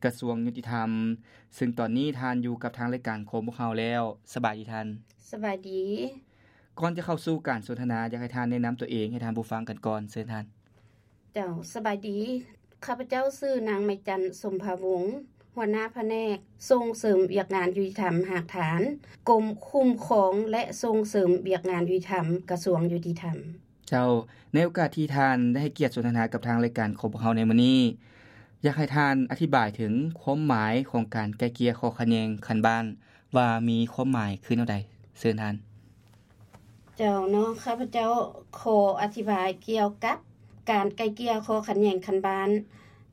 ກະຊວງຍຸຕິທຳ, ເຊິ່ງຕອນນີ້ທ່ານຢູ່ກັບທາງລາຍການຂອງພວກເຮົາແລ້ວ. ສະບາຍດີທ່ານ. ສະບາຍດີ. ກ່ອນຈະເຂົ້າສູ່ການສົນທະນາ, ຢາກໃຫ້ທ່ານແນະນຳຕົວເອງໃຫ້ທ່ານຜູ້ຟັງກັນກ່ອນ. ເຊີນທ່ານ. ເຈົ້າ, ສະບາຍດີ. ຂ້າພະເຈົ້າຊື່ນາງໄມຈັນ ສົມພາວົງ, ຫົວໜ້າພະແນກສົ່ງເສີມວຽກງານຍຸຕິທຳຮາກຖານ, ກົມຄຸ້ມຄອງ ແລະ ສົ່ງເສີມວຽກງານຍຸຕິທຳ, ກະຊວງຍຸຕິທຳ. ເຈົ້າ, ໃນໂອກາດທີ່ທ່ານໄດ້ໃຫ້ກຽດສົນທະນາກັບທາງລາຍການຂອງພວກເຮົາໃນມື້ນີ້, ຢາກໃຫ້ທ່ານອະທິບາຍເຖິງຄວາມໝາຍຂອງການໄກ່ເກ່ຍຂໍ້ຂັດແຍ່ງຂັ້ນບ້ານ ວ່າມີຄວາມໝາຍຄືແນວໃດ? ເຊີນທ່ານ. ເຈົ້າເນາະ, ຂ້າພະເຈົ້າຂໍອະທິບາຍກ່ຽວກັບການໄກ່ເກ່ຍຂໍ້ຂັດແຍ່ງຂັ້ນບ້ານ.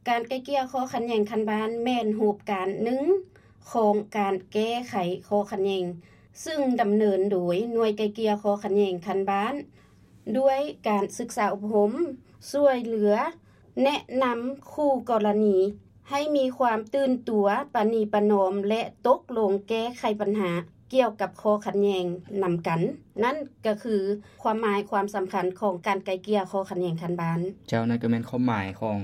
ການໄກ່ເກ່ຍຂໍ້ຂັດແຍ່ງຂັ້ນບ້ານແມ່ນຮູບການໜຶ່ງຂອງການແກ້ໄຂຂໍ້ຂັດແຍ່ງ, ຊຶ່ງດຳເນີນໂດຍໜ່ວຍໄກ່ເກ່ຍຂໍ້ຂັດແຍ່ງຂັ້ນບ້ານ ດ້ວຍການສຶກສາອົບຮົມ, ຊ່ວຍເຫຼືອ, ແນະນຳຄູ່ກໍລະນີໃຫ້ມີຄວາມຕື່ນຕົວ, ປະນີປະນອມ ແລະ ຕົກລົງແກ້ໄຂບັນຫາກ່ຽວກັບຂໍ້ຂັດແຍ່ງນຳກັນ. ນັ້ນກໍຄືຄວາມໝາຍຄວາມສຳຄັນຂອງການໄກ່ເກ່ຍຂໍ້ຂັດແຍ່ງຂັ້ນບ້ານ. ເຈົ້າ, ນັ້ນກໍແມ່ນຄວາມໝາຍຂອງ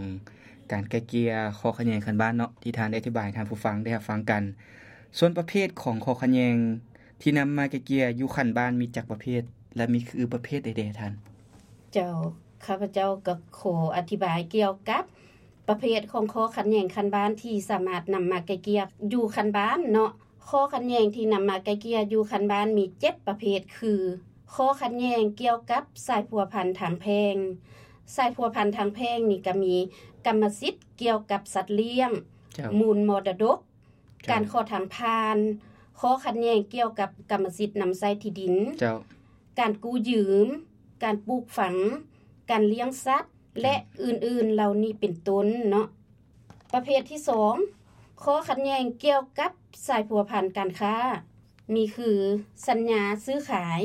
ການໄກ່ເກ່ຍຂໍ້ຂັດແຍ່ງຂັ້ນບ້ານເນາະ ທີ່ທ່ານໄດ້ອະທິບາຍໃຫ້ທ່ານຜູ້ຟັງໄດ້ຮັບຟັງກັນ. ສ່ວນປະເພດຂອງຂໍ້ຂັດແຍ່ງທີ່ນຳມາໄກ່ເກ່ຍຢູ່ຂັ້ນບ້ານມີຈັກປະເພດ ແລະ ມີຄືປະເພດໃດແດ່ທ່ານ? ເຈົ້າ, ຂ້າພະເຈົ້າກໍຂໍອະທິບາຍກ່ຽວກັບປະເພດຂອງຂໍ້ຂັດແຍ່ງຂັ້ນບ້ານທີ່ສາມາດນຳມາໄກ່ເກ່ຍຢູ່ຂັ້ນບ້ານເນາະ. ຂໍ້ຂັດແຍ່ງທີ່ນຳມາໄກ່ເກ່ຍຢູ່ຂັ້ນບ້ານມີເຈັດປະເພດ ຄື ຂໍ້ຂັດແຍ່ງກ່ຽວກັບສາຍພົວພັນທາງແພ່ງ. ສາຍພົວພັນທາງແພ່ງນີ້ກໍມີກຳມະສິດກ່ຽວກັບສັດລ້ຽງ, ເຈົ້າ, ມູນມໍລະດົກ, ເຈົ້າ, ການຂໍທາງຜ່ານ, ຂໍ້ຂັດແຍ່ງກ່ຽວກັບກຳມະສິດນຳໃຊ້ທີ່ດິນ, ເຈົ້າ, ການກູ້ຢືມ, ການປູກຝັງ, ການລ້ຽງສັດ ເຈົ້າ, ແລະ ອື່ນໆເຫຼົ່ານີ້ເປັນຕົ້ນເນາະ. ປະເພດທີສອງ, ຂໍ້ຂັດແຍ່ງກ່ຽວກັບສາຍພົວພັນການຄ້າ ມີຄື ສັນຍາຊື້ຂາຍ,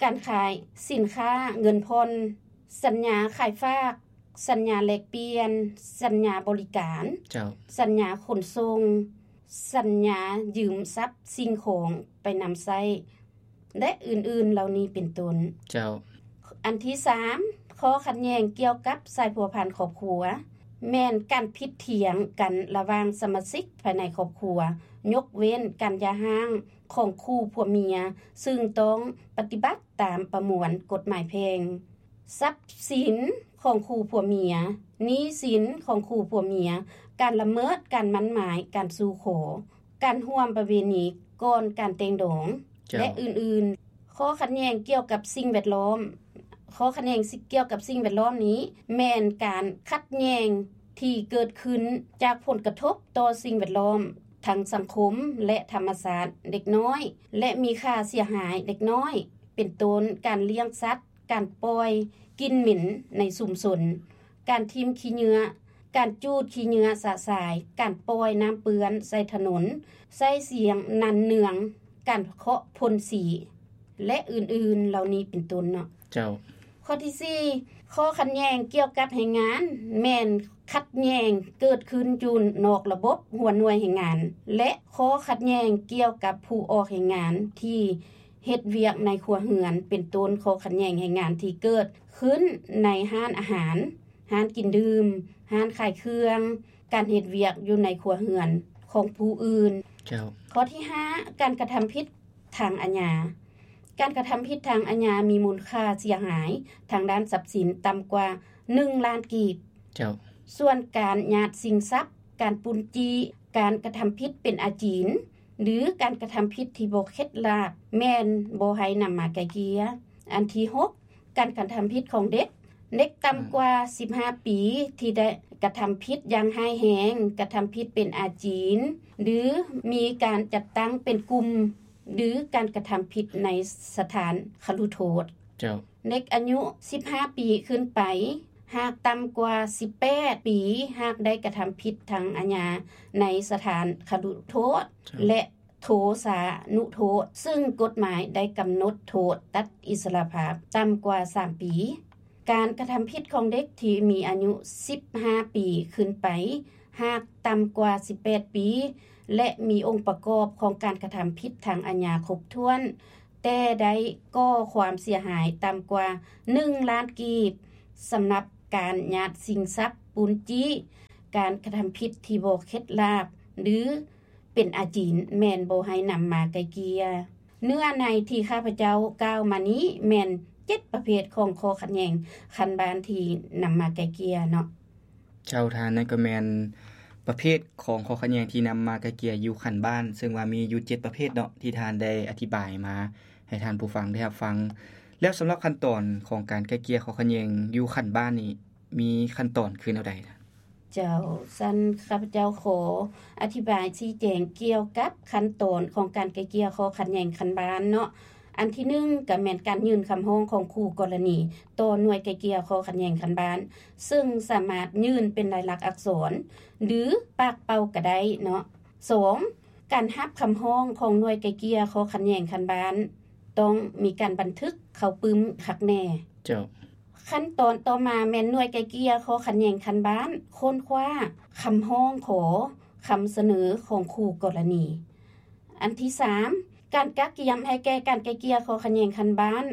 ການຂາຍສິນຄ້າເງິນຜ່ອນ, ສັນຍາຂາຍຝາກ, ສັນຍາແລກປ່ຽນ, ສັນຍາບໍລິການ, ເຈົ້າ, ສັນຍາຂົນສົ່ງ, ສັນຍາຢືມຊັບສິ່ງຂອງໄປນຳໃຊ້ ແລະ ອື່ນໆເຫຼົ່ານີ້ເປັນຕົ້ນ. ເຈົ້າ. ອັນທີສາມ, ຂໍ້ຂັດແຍ່ງກ່ຽວກັບສາຍພົວພັນຄອບຄົວ ແມ່ນການຜິດຖຽງກັນລະຫວ່າງສະມາຊິກພາຍໃນຄອບຄົວ, ຍົກເວັ້ນການຢ່າຮ້າງຂອງຄູ່ຜົວເມຍ, ຊຶ່ງຕ້ອງປະຕິບັດຕາມປະມວນກົດໝາຍແພ່ງ. ຊັບສິນຂອງຄູ່ຜົວເມຍ, ໜີ້ສິນຂອງຄູ່ຜົວເມຍ, ການລະເມີດການໝັ້ນໝາຍ, ການສູ່ຂໍ, ການຮ່ວມປະເວນີກ່ອນການແຕ່ງດອງ ເຈົ້າ ແລະ ອື່ນໆ. ຂໍ້ຂັດແຍ່ງກ່ຽວກັບສິ່ງແວດລ້ອມ. ຂໍ້ຂັດແຍ່ງກ່ຽວກັບສິ່ງແວດລ້ອມນີ້ ແມ່ນການຂັດແຍ່ງທີ່ເກີດຂຶ້ນຈາກຜົນກະທົບຕໍ່ສິ່ງແວດລ້ອມ ທັງສັງຄົມ ແລະ ທຳມະຊາດເລັກນ້ອຍ ແລະ ມີຄ່າເສຍຫາຍເລັກນ້ອຍ ເປັນຕົ້ນ ການລ້ຽງສັດ, ການປ່ອຍກິ່ນເໝັນໃນຊຸມຊົນ, ການຖິ້ມຂີ້ເຫຍື້ອ, ການຈູດຂີ້ເຫຍື້ອຊະຊາຍ, ການປ່ອຍນ້ຳເປື້ອນໃສ່ຖະໜົນ, ໃຊ້ສຽງນັ່ນເນືອງ, ການເຄາະພົ່ນສີ ແລະ ອື່ນໆເຫຼົ່ານີ້ເປັນຕົ້ນເນາະ. ເຈົ້າ. ຂໍ້ທີສີ່, ຂໍ້ຂັດແຍ່ງກ່ຽວກັບແຮງງານ ແມ່ນຂັດແຍ່ງເກີດຂຶ້ນຢູ່ນອກລະບົບຫົວໜ່ວຍແຮງງານ ແລະ ຂໍ້ຂັດແຍ່ງກ່ຽວກັບຜູ້ອອກແຮງງານທີ່ ເຮັດວຽກໃນຄົວເຮືອນ ເປັນຕົ້ນ ຂໍ້ຂັດແຍ່ງແຮງງານທີ່ເກີດຂຶ້ນໃນຮ້ານອາຫານ, ຮ້ານກິນດື່ມ, ຮ້ານຂາຍເຄື່ອງ, ການເຮັດວຽກຢູ່ໃນຄົວເຮືອນຂອງຜູ້ອື່ນ. ເຈົ້າ. ຂໍ້ທີຫ້າ, ການກະທຳຜິດທາງອາຍາ. ການກະທຳຜິດທາງອາຍາມີມູນຄ່າເສຍຫາຍທາງດ້ານຊັບສິນຕ່ຳກວ່າໜຶ່ງລ້ານກີບ. ເຈົ້າ. ສ່ວນການຍາດຊິງຊັບ, ການປຸ້ນຈີ້, ການກະທຳຜິດເປັນອາຈີນ ຫຼື ການກະທຳຜິດທີ່ບໍ່ເຄັດລາບ ແມ່ນບໍ່ໃຫ້ນຳມາໄກ່ເກ່ຍ. ອັນທີຫົກ, ການກະທຳຜິດຂອງເດັກ. ເດັກຕ່ຳກວ່າ ອືມ ສິບຫ້າປີ ທີ່ໄດ້ກະທຳຜິດຢ່າງຮ້າຍແຮງ, ກະທຳຜິດເປັນອາຈີນ ຫຼື ມີການຈັດຕັ້ງເປັນກຸ່ມ ຫຼື ການກະທຳຜິດໃນສະຖານຄະລຸໂທດ. ເຈົ້າ. ເດັກອາຍຸສິບຫ້າປີຂຶ້ນໄປ, ຫາກຕ່ຳກວ່າສິບແປດປີ, ຫາກໄດ້ກະທຳຜິດທາງອາຍາໃນສະຖານຄະລຸໂທດ ເຈົ້າ ແລະ ໂທສານຸໂທດ, ຊຶ່ງກົດໝາຍໄດ້ກຳນົດໂທດຕັດອິດສະຫຼະພາບຕ່ຳກວ່າສາມປີ. ການກະທຳຜິດຂອງເດັກທີ່ມີອາຍຸສິບຫ້າປີຂຶ້ນໄປ, ຫາກຕ່ຳກວ່າສິບແປດປີ ແລະ ມີອົງປະກອບຂອງການກະທຳຜິດທາງອາຍາຄົບຖ້ວນ, ແຕ່ໄດ້ກໍ່ຄວາມເສຍຫາຍຕ່ຳກວ່າໜຶ່ງລ້ານກີບ, ສຳລັບການຍາດຊິງຊັບ, ປຸ້ນຈີ້, ການກະທຳຜິດທີ່ບໍ່ເຂັດລາບ ຫຼື ເປັນອາຈິນ ແມ່ນບໍ່ໃຫ້ນຳມາໄກ່ເກ່ຍ. ເນື້ອໃນທີ່ຂ້າພະເຈົ້າກ່າວມານີ້ແມ່ນເຈັດປະເພດຂອງຂໍ້ຂັດແຍ່ງຂັ້ນບ້ານທີ່ນຳມາໄກ່ເກ່ຍເນາະ. ເຈົ້າທ່ານ, ນັ້ນກໍແມ່ນປະເພດຂອງຂໍ້ຂັດແຍ່ງທີ່ນຳມາໄກ່ເກ່ຍຢູ່ຂັ້ນບ້ານ, ເຊິ່ງວ່າມີຢູ່ເຈັດປະເພດເນາະ ທີ່ທ່ານໄດ້ອະທິບາຍມາໃຫ້ທ່ານຜູ້ຟັງໄດ້ຮັບຟັງ. ແລ້ວສຳລັບຂັ້ນຕອນຂອງການໄກ່ເກ່ຍຂໍ້ຂັດແຍ່ງຢູ່ຂັ້ນບ້ານນີ້ ມີຂັ້ນຕອນຄືແນວໃດ? ເຈົ້າ, ຊັ້ນຂ້າພະເຈົ້າຂໍອະທິບາຍຊີ້ແຈງກ່ຽວກັບຂັ້ນຕອນຂອງການໄກ່ເກ່ຍຂໍ້ຂັດແຍ່ງຂັ້ນບ້ານເນາະ. ອັນທີໜຶ່ງ ກໍແມ່ນການຍື່ນຄຳຮ້ອງຂອງຄູ່ກໍລະນີຕໍ່ໜ່ວຍໄກ່ເກ່ຍຂໍ້ຂັດແຍ່ງຂັ້ນບ້ານ, ເຊິ່ງສາມາດຍື່ນເປັນລາຍລັກອັກສອນ ຫຼື ປາກເປົ່າກໍໄດ້ເນາະ. ສອງ ການຮັບຄຳຮ້ອງຂອງໜ່ວຍໄກ່ເກ່ຍຂໍ້ຂັດແຍ່ງຂັ້ນບ້ານ ຕ້ອງມີການບັນທຶກເຂົ້າປຶ້ມຄັກແນ່. ເຈົ້າ. ຂັ້ນຕອນຕໍ່ມາແມ່ນໜ່ວຍໄກ່ເກ່ຍຂໍ້ຂັດແຍ່ງຂັ້ນບ້ານຄົ້ນຄວ້າຄຳຮ້ອງຂໍຄຳສະເໜີຂອງຄູ່ກໍລະນີ. ອັນທີສາມ ການກະກຽມໃຫ້ແກ່ການໄກ່ເກ່ຍຂໍ້ຂັດແຍ່ງຂັ້ນບ້ານ,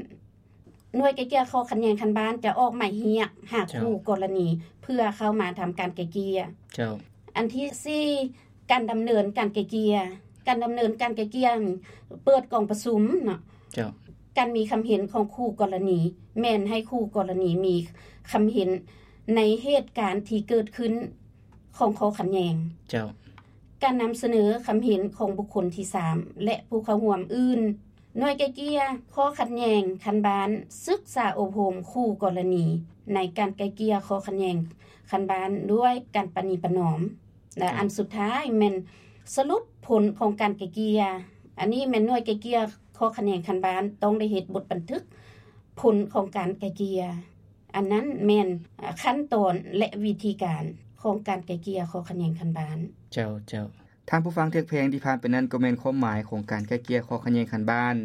ໜ່ວຍໄກ່ເກ່ຍຂໍ້ຂັດແຍ່ງຂັ້ນບ້ານຈະອອກໝາຍຮຽກຫາ ເຈົ້າ ຄູ່ກໍລະນີ ເພື່ອເຂົ້າມາທຳການໄກ່ເກ່ຍ. ເຈົ້າ. ອັນທີສີ່ ການດຳເນີນການໄກ່ເກ່ຍ, ການດຳເນີນການໄກ່ເກ່ຍ ເປີດກອງປະຊຸມເນາະ. ເຈົ້າ. ການມີຄຳເຫັນຂອງຄູ່ກໍລະນີ ແມ່ນໃຫ້ຄູ່ກໍລະນີມີຄຳເຫັນໃນເຫດການທີ່ເກີດຂຶ້ນຂອງຂໍ້ຂັດແຍ່ງ. ເຈົ້າ. ການນຳສະເໜີຄຳເຫັນຂອງບຸກຄົນທີສາມ ແລະ ຜູ້ເຂົ້າຮ່ວມອື່ນ. ໜ່ວຍໄກ່ເກ່ຍຂໍ້ຂັດແຍ່ງຂັ້ນບ້ານສຶກສາອົບຮົມຄູ່ກໍລະນີໃນການໄກ່ເກ່ຍຂໍ້ຂັດແຍ່ງຂັ້ນບ້ານດ້ວຍການປະນີປະນອມ ແລະ ເຈົ້າ ອັນສຸດທ້າຍແມ່ນສະຫຼຸບຜົນຂອງການໄກ່ເກ່ຍ. ອັນນີ້ແມ່ນໜ່ວຍໄກ່ເກ່ຍຂໍ້ຂັດແຍ່ງຂັ້ນບ້ານຕ້ອງໄດ້ເຮັດບົດບັນທຶກຜົນຂອງການໄກ່ເກ່ຍ. ອັນນັ້ນແມ່ນ ອາ ຂັ້ນຕອນ ແລະ ວິທີການຂອງການໄກ່ເກ່ຍຂໍ້ຂັດແຍ່ງຂັ້ນບ້ານ. ເຈົ້າ, ເຈົ້າ. ທ່ານຜູ້ຟັງທີ່ຮັກແພງ, ທີ່ຜ່ານໄປນັ້ນກໍແມ່ນຄວາມໝາຍຂອງການໄກ່ເກ່ຍຂໍ້ຂັດແຍ່ງຂັ້ນບ້ານ,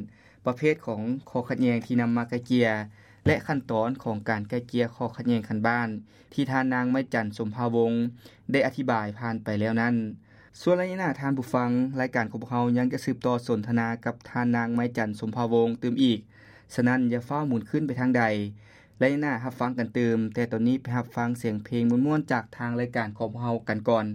ປະເພດຂອງຂໍ້ຂັດແຍ່ງທີ່ນຳມາໄກ່ເກ່ຍ ແລະ ຂັ້ນຕອນຂອງການໄກ່ເກ່ຍຂໍ້ຂັດແຍ່ງຂັ້ນບ້ານ ທີ່ທ່ານນາງໄມ້ຈັນ ສົມພາວົງ ໄດ້ອະທິບາຍຜ່ານໄປແລ້ວນັ້ນ. ສ່ວນໄລຍະໜ້າ, ທ່ານຜູ້ຟັງ, ລາຍການຂອງພວກເຮົາຍັງຈະສືບຕໍ່ສົນທະນາກັບທ່ານນາງໄມ້ຈັນ ສົມພາວົງ ຕື່ມອີກ, ສະນັ້ນຢ່າຟ້າວໝູນຄືນໄປທາງໃດ. ໄລຍະໜ້າຮັບຟັງກັນຕື່ມ, ແຕ່ຕອນນີ້ໄປຮັບຟັງສຽງເພງມ່ວນໆຈາກທາງລາຍການຂອງພວກເຮົາກັນກ່ອນ.